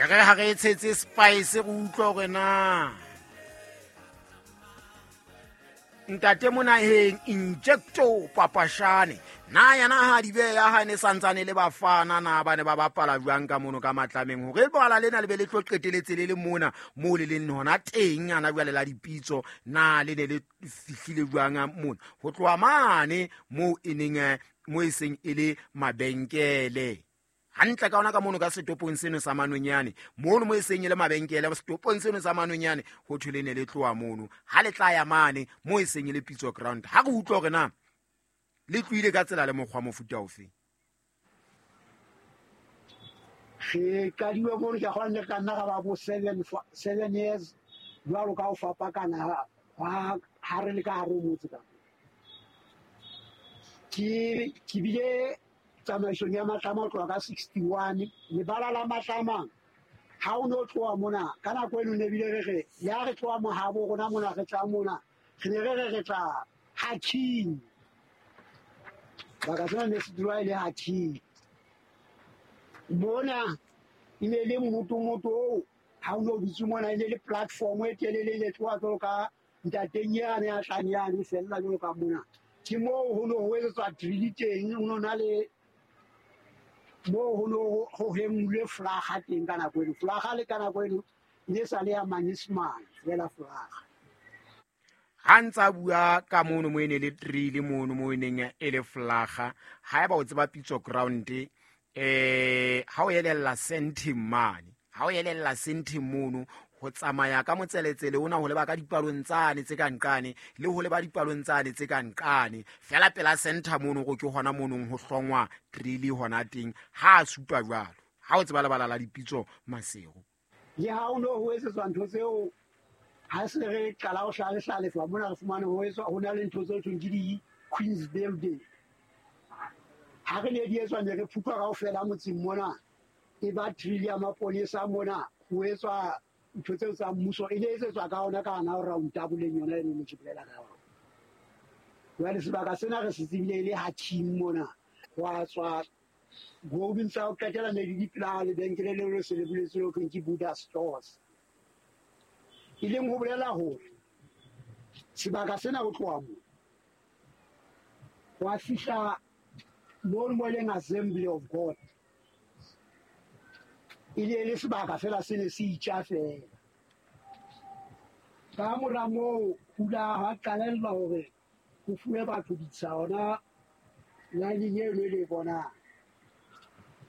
E re ha re e tshetse spice, re utlwa hore na ntate Monaheng Injecto Papashane na yena ha di beya ha ne santsane le Bafana, na ba ne ba bapala jwang ka mono ka Matlameng, hore lebala lena le be le tlo qeteletse le le mona moo le leng hona teng ana jwale la Dipitso, na le ne le fihlile jwang mona ho tloha mane moo e neng mo e seng e le mabenkele hantle ka ona ka mono ka setopong seno sa Manonyane, mono mo e seng e le mabenkele setopong seno sa Manonyane, ho thwe le ne le tloha mono ha le tla ya mane mo e seng e le Pitso Ground. Ha re utlwa hore na le tlohile ka tsela le mokgwa mofuta ofe. Re qadile mono, ke a kgona ne ka nna ra ba bo 7 years jwalo ka ho fapakana ha re le ka hare ho motse. Ka ke bile tsamaisong ya Matlama ho tloha ka 61. Lebala la Matlama ha o no tloha mona ka nako eno, ne bile re re le ha re tloha mohabo rona mona, re tla mona, re ne re re re tla Haking. Baka sena ne se dula e le Haking mona, e ne le mmotomoto oo ha o no dutse mona, e ne le platform e telele e ne tloha jwalo ka ntateng yane ya tlang yane, e fella jwalo ka mona. Ke moo ho no ho etsetswa drill teng, ho no na le moo ho no ho hemulwe flaga teng ka nako eno. Flaga le ka nako eno e ne sa le ya Manyesemane fela flaga. Ha ntse a bua ka mono mo e ne le drill mono mo e neng e le flaga. Ha eba o tseba Pitso Ground, ha o elella centeng mane, ha o elella centeng mono, ho tsamaya ka motseletsele ona ho leba ka dipalong tsane tse ka nqane le ho leba dipalong tsane tse ka nqane fela pela center mono, go ke hona monong ho hlongwa drill hona teng. Ha a supa jwalo, ha o tseba lebala la Dipitso Maseru. Le ha o no ho etsetswa ntho tseo, ha se re qala ho hlalehlalefa mona, re fumane ho etswa, ho na le ntho tse thweng ke di-Queens Building. Ha re ne di etswa, ne re phuthwa kaofela motseng mona, e ba drill ya maponesa mona, ho etswa ntho tseo tsa mmuso, e ne etsetswa ka ona ka hona round taboleng yona eno ne ke bolela ka yona. Jwale sebaka sena re se tsebile e le Hakim mona, wa tswa golding tsa ho qetela ne di dipela lebenkele leo le se le buletswe ho thweng ke Buddha Stores, e leng ho bolela hore sebaka sena ho tloha moo wa fihla mono mo e leng Assembly of God, e ne le sebaka fela se ne se itja fela. Ka mora moo pula ha qalellwa hore ho fuwe batho ditsha hona line eno e le e bonang.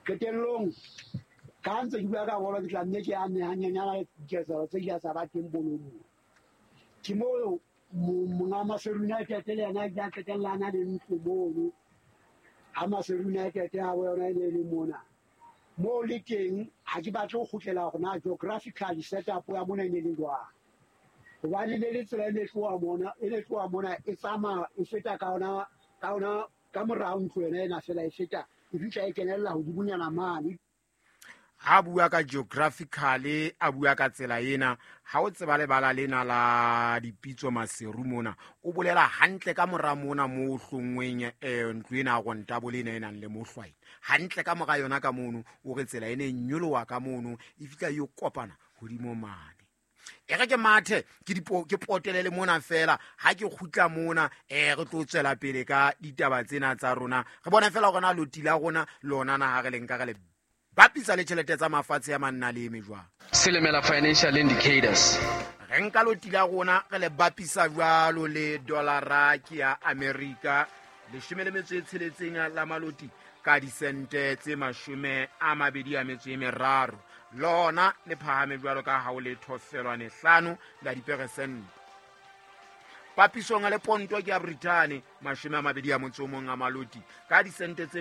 Qetellong ka ntse ke bua ka bolo, ke tla nne ke ame hanyenyana diketsahalo tse ile tsa ba teng bolong moo. Ke moo monga Maseru United le yena a ile a qetella a na le ntlo mono. Ha Maseru United ha bo yona e ne e le mona moo le teng. Ha ke batle ho kgutlela hore na geographically setup ya mona e ne le jwang, hobane ne le tsela e ne tloha mona, e ne tloha mona, e tsamaya e feta ka ona ka ona ka morao ntlo yona ena fela, e feta e fihla e kenella hodimonyana mane. Ha bua ka geographically, a bua ka tsela ena, ha o tseba lebala lena la Dipitso Maseru mona, o bolela hantle ka mora mona mo hlongweng ntlo ena ya rontabole ena e nang le mohlwaena hantle ka mora yona ka mono, o re tsela ene e nyoloha ka mono, e fihla e yo kopana hodimo mane. E re ke mathe ke dipo ke potelele mona fela, ha ke kgutla mona re tlo tswela pele ka ditaba tsena tsa rona, re bone fela hore na loti la rona lona na ha re le nka re le bapisa le tjhelete tsa mafatshe ya manna le eme jwang. Silimela Financial Indicators. Re nka loti la rona re le bapisa jwalo le dollara ke ya America, 16 la maloti ka disente tse 23, lona le phahame jwalo ka ha o le 0.5 la diperesente papisong le ponto ke ya Britain, 21 a maloti ka disente tse